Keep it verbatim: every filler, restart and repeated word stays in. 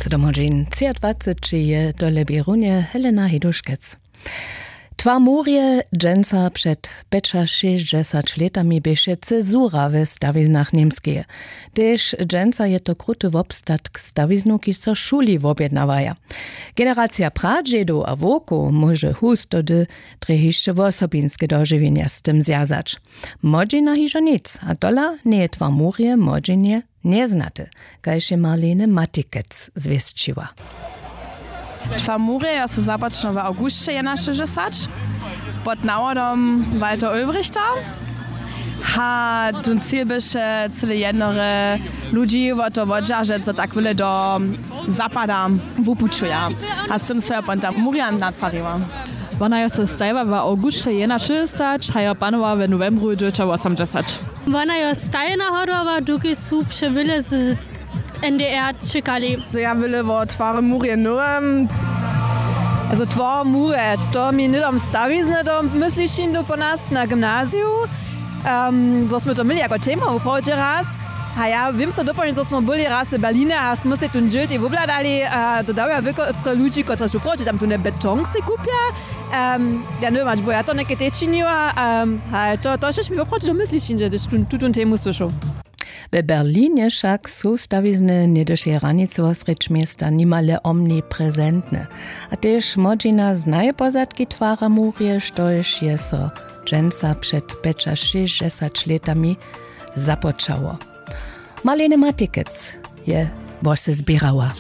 Sydom hodźin třiadwaceći je to lebi runje Helena Heduškec. Twar murje dźensa před pjećašěsćdźesać lětami běše cezura we stawiznach Němskeje. Tež dźensa je to kruty wobstatk stawiznow, kiž so šuli wobjednawaja. Generacija pradźedow a wowkow móže hustody drje hišće wosobinske dožiwjenja z tym zwjazać. Młodźina hižo nic, a tola njeje twar murje młodźinje njeznaty, kaž je Marlene Matikec zwěsćiła. Twar murje jo so započnał w awgusće jedenašesćdźesać pod nawodom Walter Ulbrichta. A tón cil běše cyle jednore ludźi wo to wodźeržeć, zo tak wyle do zapada wupućuja. A z tym so jo ponta murja natwariła. Wona jo so stajiła w awgusće jedenašesćdźesać a jo panowa w nowembru dźewjećawosomdźesać. Wona jo stajena hodowała, dokelž su přewyle z N D R čekali. Ja wyle wo twary murje nowem. Also twar murje, to mi hnydom stawizny do myslišin do po nas na gymnaziju, um, zo smy to měli jako tema wuprawdźe raz. A ja wěm so dopołdnje, zo smo byli raz w Berlinje a smo se tón dźěl tej wobhladali a to dawja wěkotre ludźi, kotrež wuprawdźe tam tón beton se kupja. Um, ja nowem hač bo ja to něke te činiła, um, a to, to šež mi woprawdźe do mysli šinže, hdyž tu, tutón temu słyšał. We Berlinje wšak su stawizny něhdyšeje hranicy wosrjedź města nimale omniprezentne. A tež młodźina znaje pozadki twara murje, štož je so dźensa před pjećašěsćdźesać lětami započało. Marlene Matikec je wose zběrała.